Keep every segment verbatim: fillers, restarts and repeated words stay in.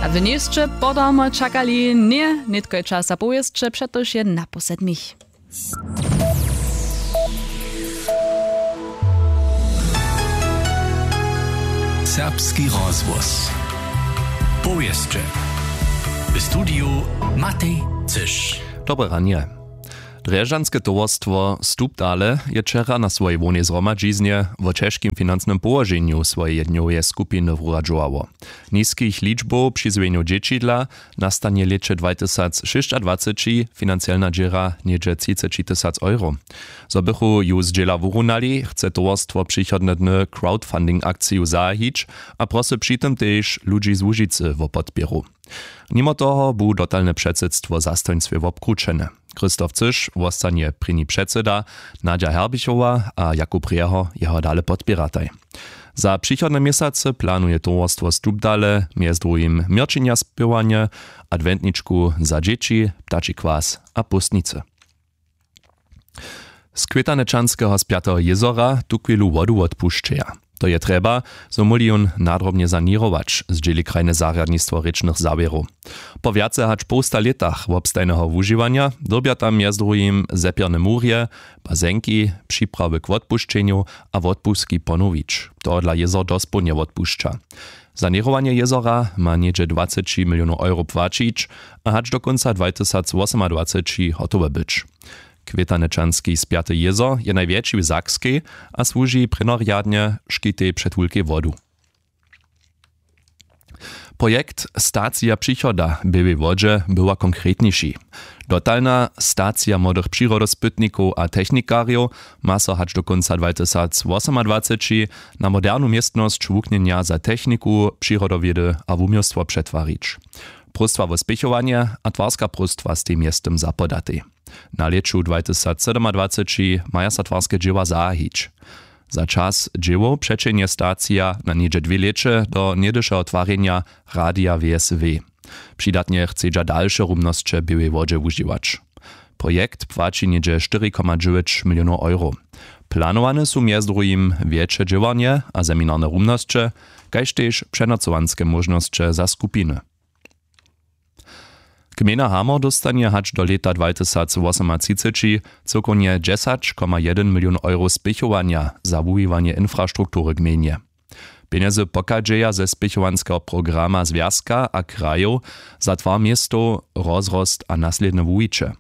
A wy njejsće podarmo čakali, ně, nětko je čas za powěsće, přetož je naposled mich. Serbski rozhłos. Powěsće. W studiju Matej Cyš. Dobre ranje. Drježdźanske towarstwo Stupdale je wčera na swojej hłownej zhromadźiznje wo ćežkim financnym połoženju swojeje dnjoweje skupiny wuradźowało. Niskich ličbow přizwjenjow dźěćidla nastanje w lěće dwatysacšěsćadwaceći financielna dźěra něhdźe třiceći tysac euro. Zo bychu ju zdźěla wurunali, chce towarstwo přichodne dny crowdfunding akciju zahajić a prosy při tym tež ludźi z Łužicy wo podpěru. Nimo toho bu dotalne předsydstwo zastojnstwje wobkrućene. Christoph Cyš wostanje prěni předsyda, Nadja Herbichowa a Jakub Rjeho jeho dale podpěrataj. Za přichodne měsacy planuje towarstwo Stupdale mjez druhim měrćenja spěwanje, adwentničku za dźěći, ptači kwas a póstnicy. Z Kwětanečanskeho Spjateho jězora tuchwilu wodu wotpušćeja. To je trjeba, zo móhli jón nadrobnje saněrować, zdźěli krajne zarjadnistwo rěčnych zawěrow. Po wjace hač połsta lětach wobstajneho wužiwanja dyrbja tam mjez druhim zepjerne murje, bazenki, připrawy k wotpušćenju a wotpuski ponowić. Tohodla jězor dospołnje wotpušća. Saněrowanje jězora ma něhdźe dwaceći milionow euro płaćić a hač do kónca dwatysacwosomadwaceći hotowe być. Kwětanečanski Spjaty jězor je najwjetši w Sakskej a słuži prěnorjadnje škitej před wulkej wodu. Projekt Stacija přichoda w Běłej Wodźe była konkretniši. Dotalna stacija młodych přirodospytnikow a technikarjow ma so hač do kónca dwatysacwosomadwaceći na modernu městnosć wuknjenja za techniku, přirodowědy a wuměłstwo přetwarić. Próstwa wo spěchowanje a twarska próstwa stej mjeztym zapodatej. Na lěću dwatysacsydomadwaceći maja so twarske dźěła zahajić. Za čas dźěłow přećehnje stacija na něhdźe dwě lěće do něhdyšeho twarjenja Radija W S W. Přidatnje chcedźa dalše rumnosće w Běłej Wodźe wužiwać. Projekt płaći něhdźe štyri koma dźewjeć milionow euro. Planowane su mjez druhim wjetše dźěłarnje a seminarne rumnosće, kaž tež přenocowanske móžnosće za skupiny. Gmejna Hamor dóstanje hač do lěta dwatysacwosomatřiceći cyłkownje dźesać koma jedyn milion euro spěchowanja za wuwiwanje infrastruktury gmejnje. Pjenjezy pochadźeja ze spěchowanskeho programa zwjazka a krajow za twar městow, rozrost a naslědne wuwiće.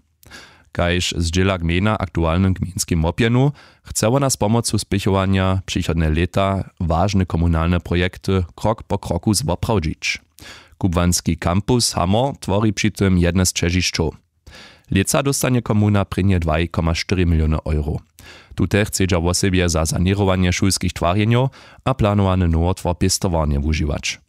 Kaž zdźěla gmejna aktualnym gmejnskim łopjenu, chce wona z pomocu spěchowanja přichodne lěta wažne komunalne projekty krok po kroku zwoprawdźić. Kubłanski kampus Hamor twori při tym jedne z ćežišćow. Lětsa dóstanje komuna prěnje dwaj koma štyri miliony euro. Tute chcedźa wosebje za saněrowanje šulskich twarjenjow a planowany nowotwar pěstowarnje wužiwać.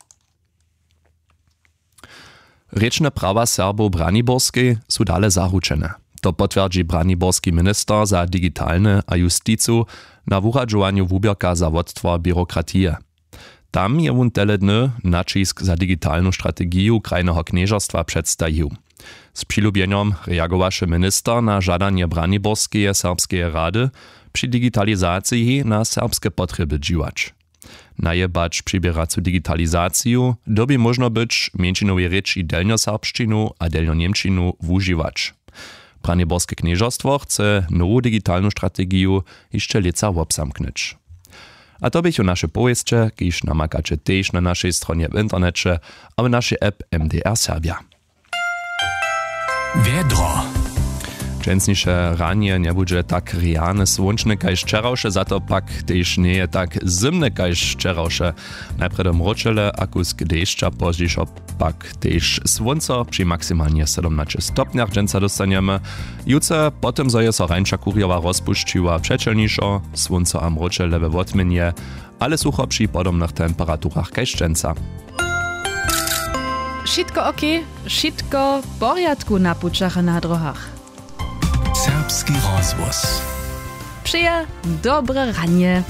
Rěčne prawa Serbow w Braniborskej su dale zaručene. To potwjerdźi braniborski minister za digitalne a justicu na wuradźowanju wuběrka za wottwar běrokratije. Tam je wón tele dny naćisk za digitalnu strategiju krajneho knježerstwa předstajił. Z přilubjenjom reagowaše minister na žadanje Braniborskeje serbskeje rady, při digitalizaciji na serbske potrjeby dźiwać. Najebać přiběracu digitalizaciju dyrbi móžno być mjeńšinowej rěči delnjoserbšćinu a delnjoněmčinu wužiwać. Braniborske knježerstwo chce nowu digitalnu strategiju hišće lětsa wobzamknyć. A to běchu naše powěsće, kiž namakaće tež na našej stronje w interneće a w našej app M D R Serbja. Wjedro. Dźensniše ranje njebudźe tak rjane słónčne kaž wčerawše, za to pak tež njeje tak zymne kaž wčerawše. Najprjedy mróčele a kusk dešća, pozdźišo pak tež słónco při maksimalnje sydomnaće stopnjach dźensa dóstanjemy. Jutře po tym, zo je so rańša kurjowa rozpušćiła, přećelnišo, słónco a mróčele we wotměnje, ale sucho při podobnych temperaturach kaž dźensa. Wšitko ok, wšitko w porjadku na pućach a na dróhach. Serbski rozhłos. Přeja dobre ranje.